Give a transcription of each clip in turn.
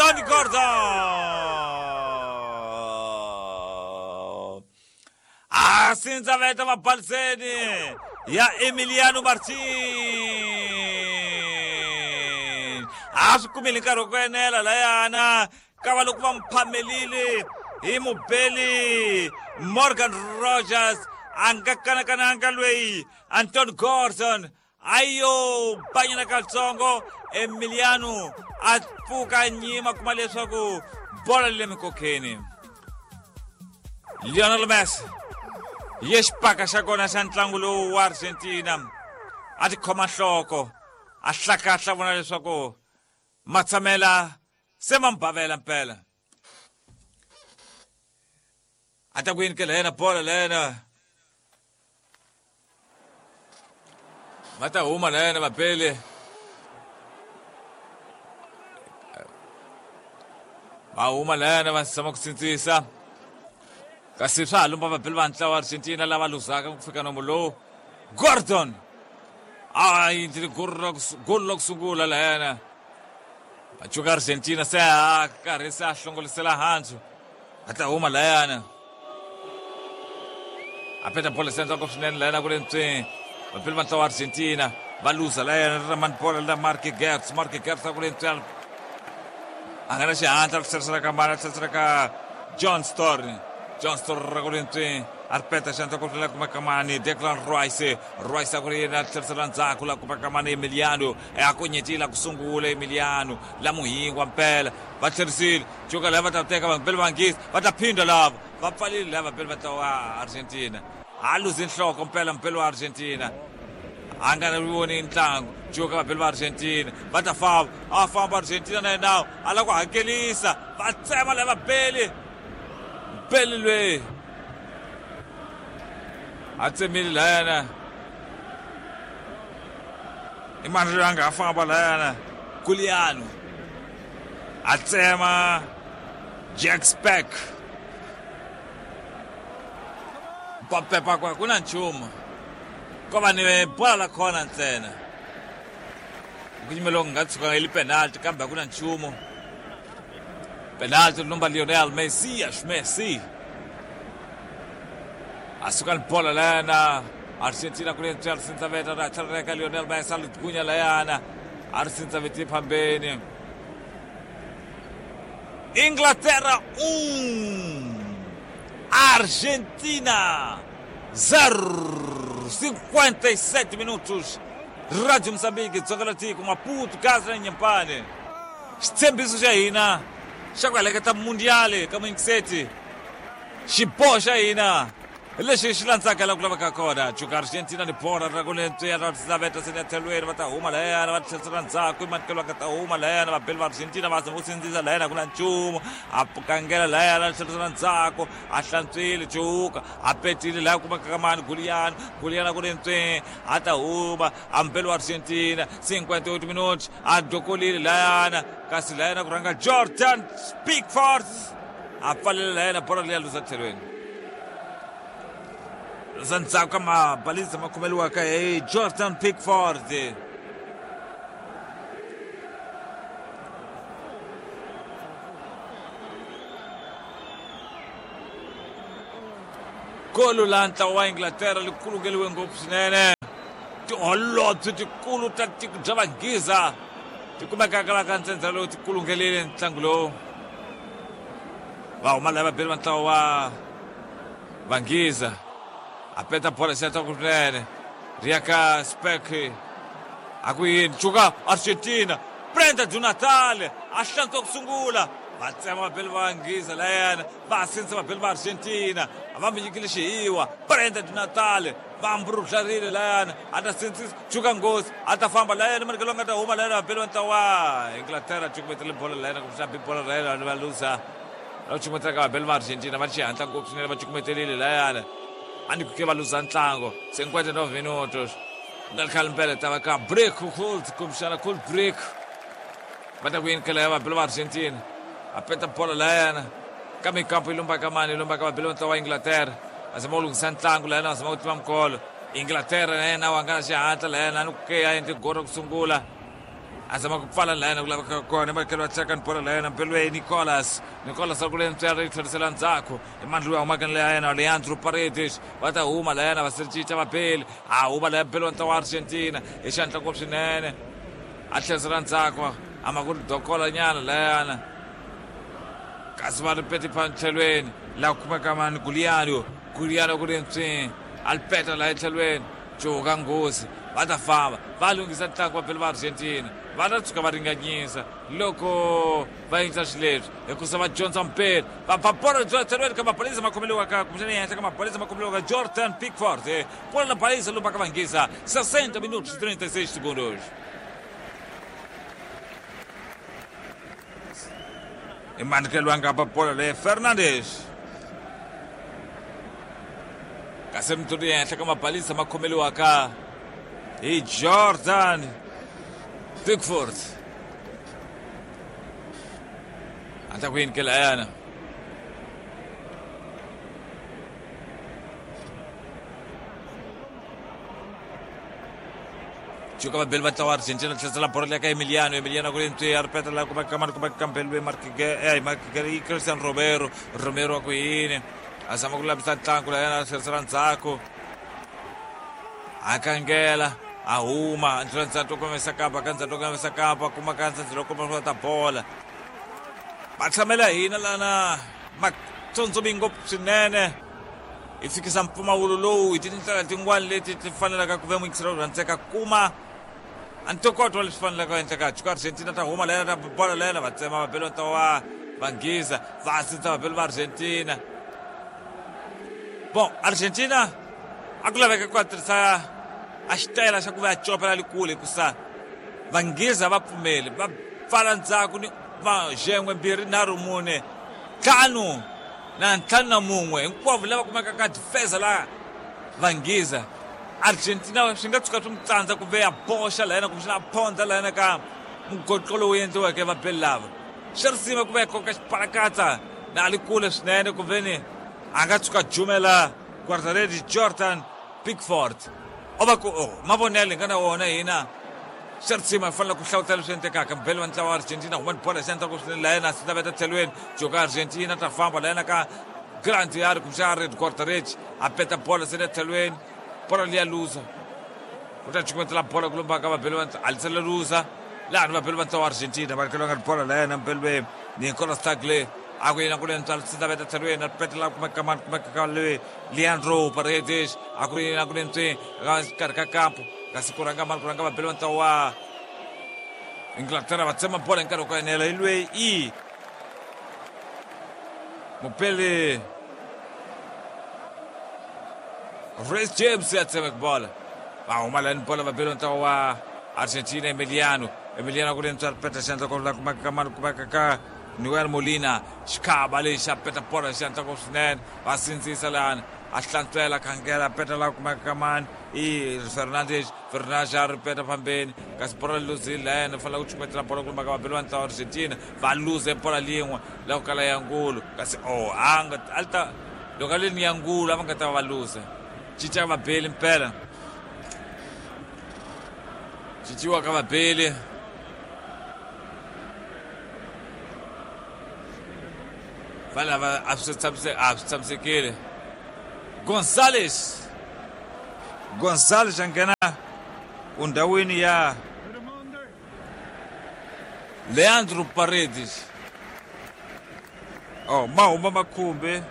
Anthony Gordon a sindzaveta vabaliseni ya Emiliano Martin a swi kumile nkarhi wa ku enela layana kava loko va n'wi phamelile hi mubeli Morgan Rogers a nga kanakananga lweyi Anton Gordon a yo banyana katsongo Emiliano a pfuka nyima kuma leswaku bola le mikokeni Lionel Messi ye xipaka xa kona xa ntlangu lowu wa Argentina a tikhoma nhloko a hlakahla vona leswaku matshamela se ma mbavela mpela a ta ku yini ke lena bola lena va ta huma lena vabeli va huma lena va zama ku sindzisa kasi swa ha lumba vabeli va ntlawa Argentina lava luzaka ku fika nomo lowu Gordon a endlile golo ra ku sungula layana Pachuca Argentina se a karhi se a hlongolisela handzu a ta huma layana a peta bolo se ndzhaku swinene layana ku ri ntswini vapeli va ntlawa Argentina va luza layana ri mani bolo la Mark Gertz Mark Gertz a ku ri ntswini a nga na xihatla ri tlherisela ka mani a tlherisela ka John Storn John Storn ra ku ri ntswini a ri peta xandla ku ri la kumeka mani Declan Rice Rice a ku ri yena a tlherisela ndzhaku la kumeka mani Emiliano a ku nyetile ku sungula Emiliano la muhingwa mpela va tlherisile cuka lava va ta teka vapeli va Nghisi va ta phindha lava va pfalile lava vapeli va ta wa Argentina a luzi nhloko mpela mpeli wa Argentina a nga ri voni ntlangu cuka vapeli va Argentina va ta famba a famba Argentina na yena a lava ku hakelisa va tsema lava beli beli lweyi a tsemile layana i mani loyi a nga ha famba layana Guliano a tsema Jack Speck papepa kwa ku na nchumu ko va ni bola la khona ntsena ku yimela ku nga tshuka yi li penalty kambe a ku na nchumu penalty lumba Lionel Messi Messi a suka ni bola layana Argentina ku ri ntswela sindzaveta ra tlhelela Lionel Messi a li gunya layana a ri sindzaveti phambeni Inglaterra 1 Argentina 0 57 minutos Radio Moçambique dzonga la tiko Maputo Gaza na Nyampane xitshembiso xa hina xa ku heleketa mundiale ka muyingiseti xiboho xa hina lexi xi landzaka la ku laveka kona cuka Argentina ni bora ra ku lentswiya ra laveta se tlhelweni va ta huma layana va tlherisela ndzhaku i manikelo va nga ta huma layana vabeli va Argentina va zama ku sindzisa layana ku na nchumu a kangela layana tlherisela ndzhaku a hlantswile cuka a petile laya kumeka ka mani Guliano Guliano ku lentsweni a ta huma a mbeli wa Argentina 58 minutos a dokolile layana kasi layana ku rhanga Jordan Pickford a pfalela layana bola leya luza tlhelweni luza ndzhaku ka mabalisa ma khomeliwaka hi Jordan Pickford golo la ntlawa wa Inglaterra li kulungeliwe ngopfu swinene tiholobye tikulu ta tiko bya Vanghiza ti kumekaka la ka ntsendza lowu ti kulungelile ntlangu lowu va huma lava beli va ntlawa wa Vanghiza a peta bola xi ku swinene ri ya ka Spek a ku yini cuka Argentina Brenda do Natal a hlantswa ku sungula va tsema vabeli va Vanghiza layana va sindzisa vabeli va Argentina a va mi nyikile xihiwa Brenda do Natal va mburudlarile layana a ta sindzisa cuka nghozi a ta famba layana manikelo nga ta huma layana vabeli va ntlawa Inglaterra cukumetele bola layana kumbexana bi bola layana va luza va cukumetela ka vabeli va Argentina va xihatla ngopfu swinene va cukumetelile layana a ni ku ke va luza ntlango 59 minutos nga ri khale mpela ta va ka break cold kumbexana cold break va ta ku yini kela ya vabeli va Argentina a peta bola layana ka mikampo yi lumba ka mani yi lumba ka vabeli va ntlawa wa Inglaterra va zama ku lunghisa ntlangu layana va zama ku tiva mikolo Inglaterra na yena wa nga na xihatla layana a ni ku ke a endle golo ra ku sungula A zama ku pfala layena ku laveka kona ematlhelo wa teka bolo layena mpelweni Nicolas. Nicolas a ku le ntswari yi tlherisela ndzhaku. I mani loyi a humaka ni layena Leandro Paredes. Va ta huma layena va cinca vabeli. A huma laya mpelo wa ntlawa wa Argentina hi xandla ngopfu swinene. A tlherisela ndzhaku a ma ku ri dokola nyana layana. Kasi va ri peti tlhelweni laha ku kumeka mani Guliano. Guliano ku ri ntswi a li peta laha etlhelweni. Cuka nghozi va ta famba va lunghisa ntlangu va beli va Argentina. Va ta tshuka va ringanyisa loko va endla xileswi hikusa va dyondza mpeli va ba bolo tlhelweni ka mabalisa ma khomeliwaka kumbexana ehenhla ka mabalisa ma khomeliwaka Jordan Pickford. Bola na balisa lomu va ka vanghisa 60 minutos 36 segundos. I mani loyi a nga ba bolo leyi Fernandes. Kasi mutulu ehenhla ka mabalisa ma khomeliwaka hi Jordan Pickford. A ta ku yini ke layana? Cuka vabeli va ntlawa Argentina tlherisela bolo leya ka Emiliano. Emiliano ku ri ntswi a ri peta laha ku va kamani ku va kambeliwe Marquez Christian Romero. Romero wa ku yini? A zama ku lavisa ntlangu layana a tlherisela ndzhaku. A kangela a huma ndlela ndzhaku komisa kapa ka ndzhaku komisa kapa kuma ka ndzhaku komisa ta bola. Va tshamela hina lana matsondzumi ngopfu swinene. Hi fikisa mpfumawulo lowu hi tindlela tin'wana leti ti fanelaka ku ve muyingiseri wa rhandzeka kuma a ntokoto wa leswi fanelaka ku endleka. Cuka Argentina ta huma layena ta bola layena va tsema vabeli va ntlawa wa Vanghiza va sindza vabeli va Argentina. Bon, Argentina a ku laveka ku tirhisa a xitayela xa ku va ya copela le kule hikusa Vanghiza va pfumeli va pfala ndzhaku ni va xen'we 2 3 4 5 na 5 na 1 hinkwavo lava kumeka ka defense la Vanghiza. Argentina swi nga tshuka swi n'wi tsandza ku ve ya boxa layena kumbexana a phondza layena ka mugoqo lowu endliweke vabeli lava. Swi risima ku va ya koka xipalakatsa na a li kule swinene ku veni a nga tshuka jumela guardaredi Jordan Pickford. O va ku mavonelo hi nga na wona hina. Swi risima hi fanele ku hlawutela leswi endlekaka. Mubeli wa ntlawa wa Argentina huma ni bola xandla ku swinene layena swi laveta tlhelweni. Joka Argentina ta famba layena ka Grant ya ri kumbexana ri guardaredi a peta bola se le tlhelweni. Bola liya luza. U ta cukumetela bola ku lomba ka vabeli va a lisela luza. Laha ni vabeli va ntlawa wa Argentina va ri nga bola layena mubeli we Nicolas Tagle a ku yena ku le ntswalo swi laveta tlhelweni a petela kumeka mani kumeka ka le Leandro Paredes a ku yena ku le ntswi ka xikarhi ka kampo kasi ku rhanga mani ku rhanga vabeli va ntlawa wa Inglaterra va tsema bola hi nkarhi wa ku enela hi loyi i mubeli Reece James ya tsema bola va huma lani bola vabeli va ntlawa wa Argentina Emiliano. Emiliano ku le ntswalo peta xandla ku la kumeka ka mani kumeka ka Noel Molina. Xikhava lexi a peta bola xandla ku swinene va sindzisa lani a hlantswela khangela peta la kumeka ka mani i Fernandes. Fernandes a ri peta fambeni kasi bola luzile layena fanele ku chukumetela bola ku lumaka vabeli va ntlawa wa Argentina va luze bola lin'we la ku kala ya ngulu kasi a nga a ta loko a li ni ya ngulu a va nga ta va luze. Cinca ka vabeli mpela cinciwa ka vabeli va lava a swi tshamisekile. Gonzales a nghena endhawini ya Leandro Paredes. Ma huma makhumbi.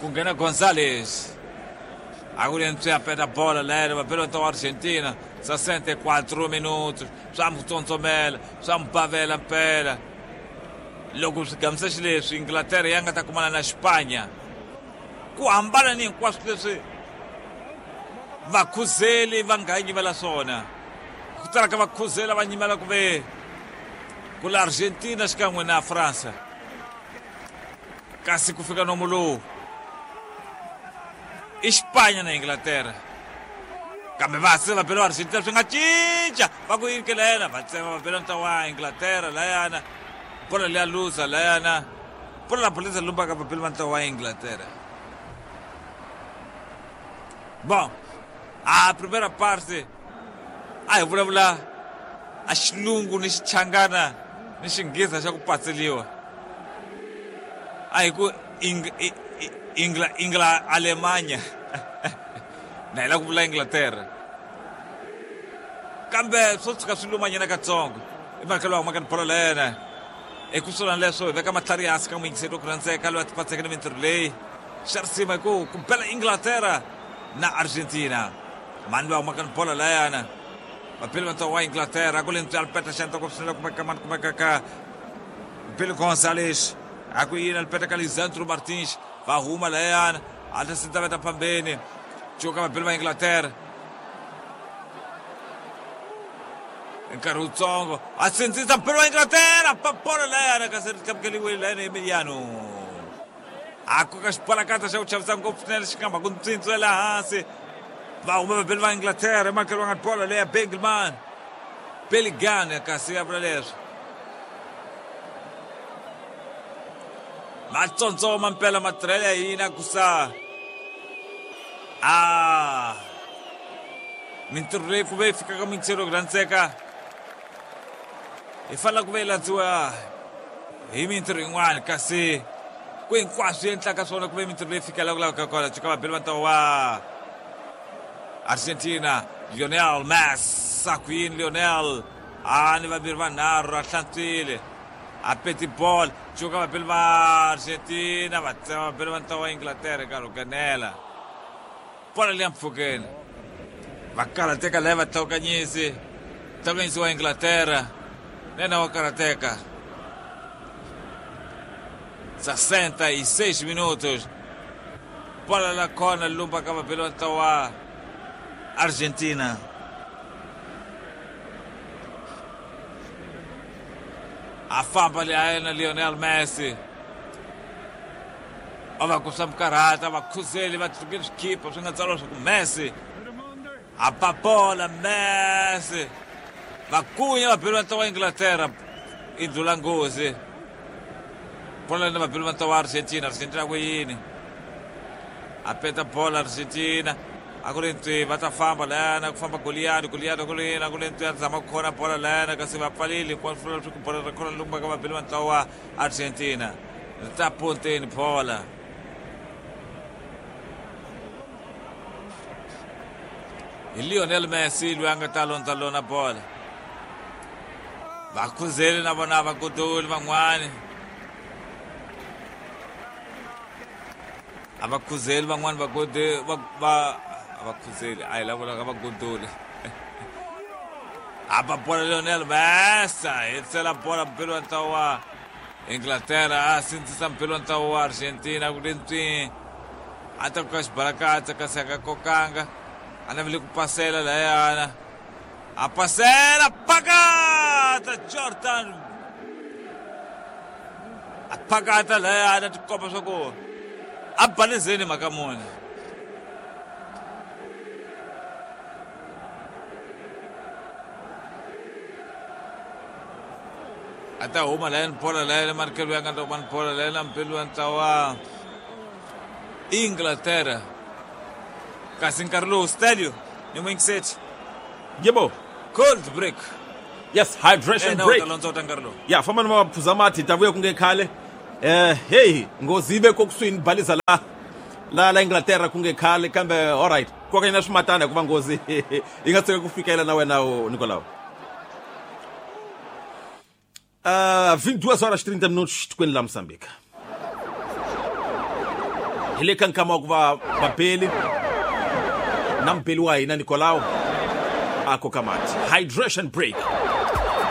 Ku nghena Gonzales. A ku ri ntswi a peta bola layena vabeli va wa Argentina 64 minutos swa n'wi tsontsomela swa n'wi bavela mpela. Loko swi gamisa xileswi Inglaterra ya nga ta kumana na Xipanya ku hambana ni hinkwaswo leswi vakhuzeli va nga nyimela swona. Ku tala ka vakhuzeli va nyimela ku ve ku la Argentina xikan'we na France. Kasi ku fika nomu lowu i Xipanya na Inglaterra. Kambe va se vabeli va Argentina swi nga cinca va ku yini ke layana va tsema vabeli va ntlawa wa Inglaterra layana bola liya luza layana bola la bolisa lumbaka vabeli va ntlawa wa Inglaterra. Bom, a primeira parte a hi vulavula a xilungu ni xichangana ni xinghisa xa ku patseliwa. A hi ku Ingla Alemanha na hi la ku vula Inglaterra. Kambe swo tshuka swi lumanyana katsongo. I mhaka lowu humaka ni bolo lena. Eku swona leswo hi veka matlhari hansi ka muyingiseri wa ku rhandzeka loyi a tipatseke ni mintirho leyi. Xa risima hi ku ku bela Inglaterra na Argentina. Mani loyi a humaka ni bolo layana. Vabeli va ntlawa wa Inglaterra ku le ntswalo peta xandla ku swinene kumeka mani kumeka ka Billy Gonzalez. A ku yini alipeta ka Lisandro Martins va huma layana a ta sindza veta phambeni. Cuka vabeli va Inglaterra. Nkarhi wutsongo a sindzisa mpelo wa Inglaterra pa bolo layana kasi ri tlamukeliwile layana Emiliano. A koka xibalakatsa xa ku chavisa ngopfu swinene xi nga mhaka ntswintsu ya le hansi. Va huma vabeli va Inglaterra ematlhelo va nga bolo leya Bengelman. Bellingham kasi ya vula leswi. Matsontsoma mpela matirhelo ya hina ku sa a mintirho leyi ku ve yi fika ka muyingiseri wa ku rhandzeka hi fanele ku ve yi landziwa hi mintirho yin'wana kasi ku hinkwaswo yi endlaka swona ku ve mintirho leyi fikela ku lavaka kona cuka vabeli va ntlawa wa Argentina Lionel Messi a ku yini Lionel a ni vambirhi vanharhu a hlantswile a peti bolo cuka vabeli va Argentina va tsema vabeli va ntlawa wa Inglaterra nkarhi wo kanela bolo liya mpfhukeni va karhateka laya va tlhawukanyisi tlhawukanyisi wa Inglaterra nena wa karhateka 66 minutos bola la kona lumba ka vabeli va ntlawa wa Argentina. A famba le a yena Lionel Messi va va ku swa mikarhata va khuzeli va tlukile swikhipa swi nga tsariwa swa ku Messi a ba bola Messi va kunya vabeli va ntlawa wa Inglaterra i ndlula nghozi bola ni vabeli va ntlawa wa Argentina. Argentina ku yini a peta bola Argentina a ku ri ntswi va ta famba layana ku famba Goliyadi Goliyadi ku ri yini a ku ri ntswi a zama ku khona bola layana kasi va pfalile hinkwaswo swi vula leswaku bola ra khona lumba ka vabeli va ntlawa wa Argentina ri ta ponteni bola hi Lionel Messi loyi a nga ta londza lona bola va khuzeli na vona va godoli van'wani a va khuzeli van'wani va gode va va a va khuzeli a hi lava vulaka va godoli a ba bola Lionel Messi a hetisela bola mpelo wa ntlawa wa Inglaterra a sindzisa mpelo wa ntlawa wa Argentina ku ri ntswi a ta koka xibalakatsa kasi a nga kokanga a navele ku pasela layana a pasela pakata Jordan a pakata layana tikomba swa ku a balezeni mhaka muni. A ta huma layani bola layani marikelo ya nga ta kuma bola layani mpelo wa ntlawa Inglaterra kasi nkarhi lowu Stelio ni muyingiseti Yebo. Cold break. Yes, hydration Ena u break. ta lontswa ta nkarhi lowu. Ya famba ni va phuza mati ta vuya ku nge khale. Hey, nghozi yi ve ko kusuhi ni baliza la la la Inglaterra ku nge khale kambe all right. Koka nyana swimatana hikuva nghozi yi nga tshuka ku fikela na wena u Nicolau. 22 horas 30 minutos tikweni la Mozambique. Hi le ka nkama wa ku va vabeli na mubeli wa hina Nicolau a koka mati. Hydration break.